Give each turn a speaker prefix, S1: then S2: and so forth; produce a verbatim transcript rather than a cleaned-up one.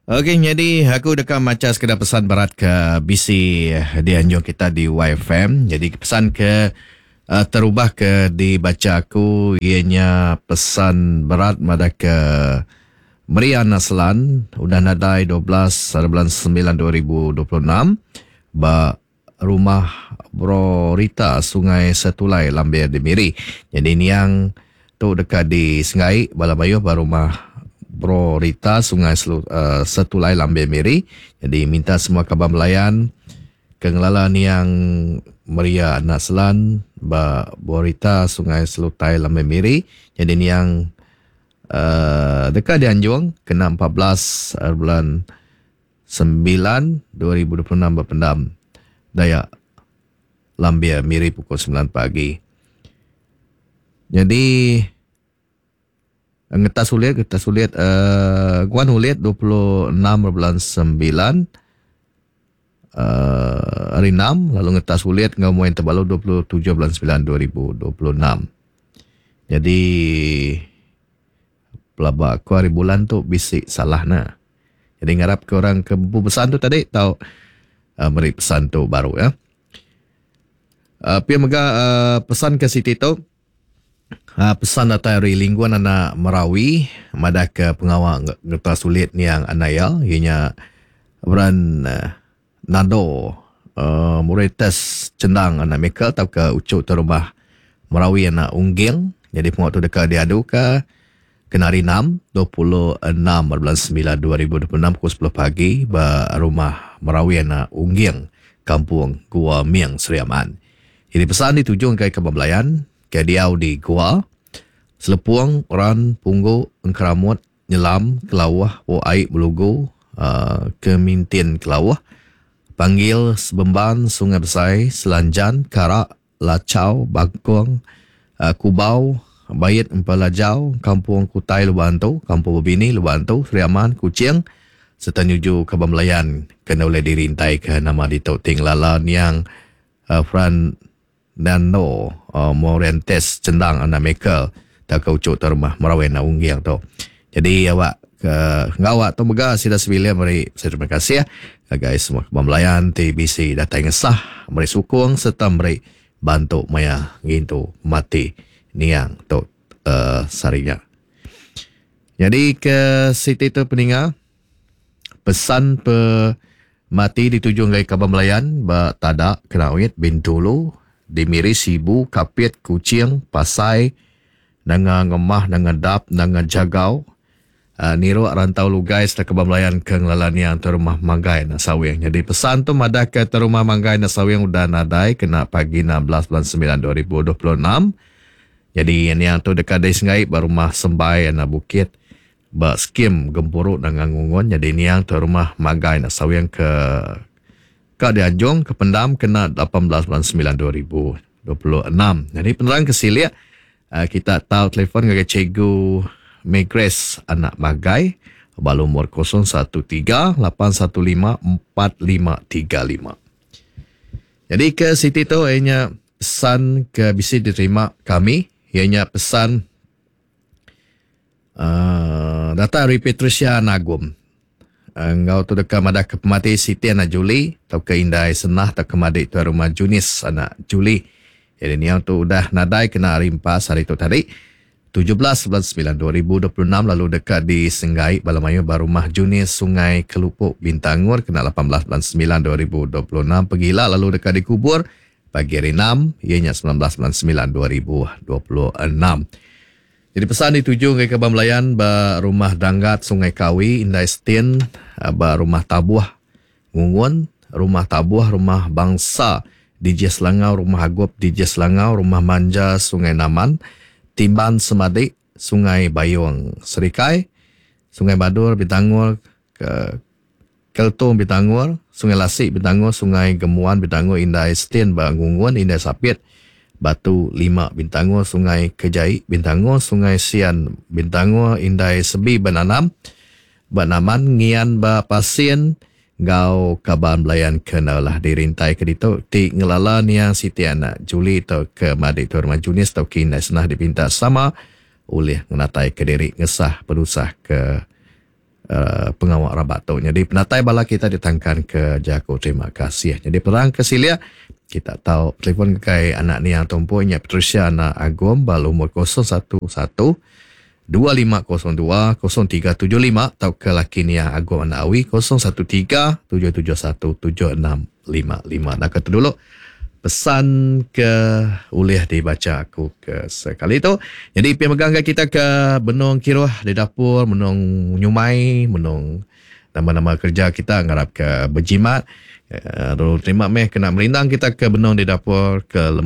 S1: Okey, jadi aku deka macha sekeda pesan berat ke bisi dianjung kita di Y F M. Jadi pesan ke uh, terubah ke dibaca aku ianya pesan berat madah ke Maria Naslan udah nadai dua belas bulan sembilan dua ribu dua puluh enam ba rumah Bro Rita Sungai Setulai Lambir di Miri. Jadi niang tu dekat di Sengai bala mayuh ba rumah Bro Rita Sungai Selu, uh, Setulai Lambir Miri. Jadi minta semua kaban belayan ke ngelala niang Maria Naslan ba Bro Rita Sungai Selutai Lambir Miri. Jadi niang uh, dekat dianjung kena empat belas bulan sembilan dua ribu dua puluh enam berpendam Dayak Lambir Miri pukul sembilan pagi. Jadi ngetas ulit, ngetas ulit, uh, guan ulit dua puluh enam bulan sembilan, uh, hari enam, lalu ngetas ulit ngau muin terbalu dua puluh tujuh bulan sembilan dua ribu dua puluh enam. Jadi pelaba aku hari bulan tu bisik salah na. Jadi ngarap ke orang ke buku pesan tu tadi tau uh, meri pesan tu baru ya. Uh, pia mega uh, pesan ke Siti tu. Uh, pesan datang dari lingkungan anak Merawi madah ke pengawal ngetas sulit niang anaya ianya beran uh, nado uh, Muretes Cendang anak Michael atau ke ucuk terumah Merawi anak Ungging. Jadi pengawal tu dekat diadu ke kena hari enam, dua puluh enam bulan sembilan dua ribu dua puluh enam pukul sepuluh pagi ba rumah Merawi anak Ungging, Kampung Gua Miang, Sri Aman. Jadi pesan dituju ke Kebun Belayan, ke diau di Gua, Selepung, Ran, Punggu, Engkeramut, Nyelam, Kelawah, Po Aik, Belugu, uh, Kemintin Kelawah, Panggil, Sebemban, Sungai Besai, Selanjan, Karak, Lacau, Bangkong, uh, Kubau, Bayit, Empalajau, Kampung Kutai, Lubantu, Kampung Bebini, Lubantu, Sri Aman, Kuching, serta nyuju Kebun Belayan, kena oleh dirintai ke nama di Tok Ting Lala, Niang, uh, Fran Nano, uh, Morentes, Cendang, Anak Michael, tak kau ucuk terumah Merawi nak ungging tu. Jadi awak ke ngawak tu mega sida sebilik meri saya terima kasih ya guys semua Kebun Belayan T B C datang ngesah meri sukung serta meri bantu maya ngintu mati niang tu uh, sarinya. Jadi ke Siti tu peninga pesan pe mati dituju ngai Kebun Belayan ba Tadak Kenawit Bintulu di Miri, Sibu, Kapit, Kuching, Pasai, Nanga Ngemah, Nanga Dap, Nanga Jagau, uh, Niro, Rantau Lugai, serta Kebun Belayan ke Ngelalan yang terumah Manggai Nasawing. Jadi pesan tu madah ke terumah Manggai Nasawing udah nadai kena pagi enam belas bulan sembilan dua ribu dua puluh enam. Jadi ini yang tu dekat dari Sengai, rumah Sembai, Anak Bukit, ba skim Gempuruk Nanga Ngungun. Jadi ini yang terumah Manggai Nasawing ke Kak dianjung ke pendam kena lapan belas bulan sembilan dua ribu dua puluh enam. Jadi penerang ke siliak, kita tahu telefon dengan Cikgu Megres anak Magai bal umur kosong satu tiga lapan satu lima empat lima tiga lima. Jadi ke Siti tu ianya pesan ke bisi diterima kami, ianya pesan uh, data dari Patricia Nagum. Engau tu dekat madah ke pemati Siti anak Juli atau ke Indai Senah atau ke madik tuan rumah Junis anak Juli. Jadi ni yang tu udah nadai kena hari empat hari tu tadi tujuh belas bulan sembilan dua ribu dua puluh enam lalu dekat di Senggai Balamayu Barumah Junis Sungai Kelupuk Bintangur kena lapan belas bulan sembilan dua ribu dua puluh enam pergilah lalu dekat dikubur pagi hari enam ianya sembilan belas bulan sembilan dua ribu dua puluh enam. Jadi pesan dituju ke Kebun Belayan ba rumah Danggat Sungai Kawi Indai Stin ba rumah Tabuh Ngungun, rumah Tabuh, rumah Bangsa D J Selangau, rumah Agup D J Selangau, rumah Manja Sungai Naman, Timban Semadik Sungai Bayung Serikai, Sungai Badur Bintangur ke Keltung Bintangur, Sungai Lasik Bintangur, Sungai Gemuan Bintangur, Indai Stin ba Ngungun, Indai Sapit Batu Lima Bintangur, Sungai Kejai Bintangur, Sungai Sian Bintangur, Indai Sebi Benanam, Banaman Ngian Ba Pasien, Gau Kaban Belayan kenalah dirintai ke ditu ti ngelala niang Siti anak Juli atau ke madik tu rumah Junis atau ke Indai Senah dipinta sama oleh ngenatai ke diri ngesah penusah ke uh, pengawa rabat tu. Jadi penatai bala kita ditangkan ke jaku terima kasih. Jadi perang ke silia kita tahu telefon ke anak ni yang tumpu nya Patricia anak Agum bal umur kosong satu satu dua lima kosong dua kosong tiga tujuh lima atau ke laki ni yang Agum anak Awi kosong satu tiga tujuh tujuh satu tujuh enam lima lima. Nak kata dulu pesan ke ulih dibaca aku ke sekali tu. Jadi pi megang ke kita ke benung kiruh di dapur, benung nyumai, benung nama-nama kerja kita ngarap ke berjimat. Uh, terima meh kena merindang kita ke benung di dapur ke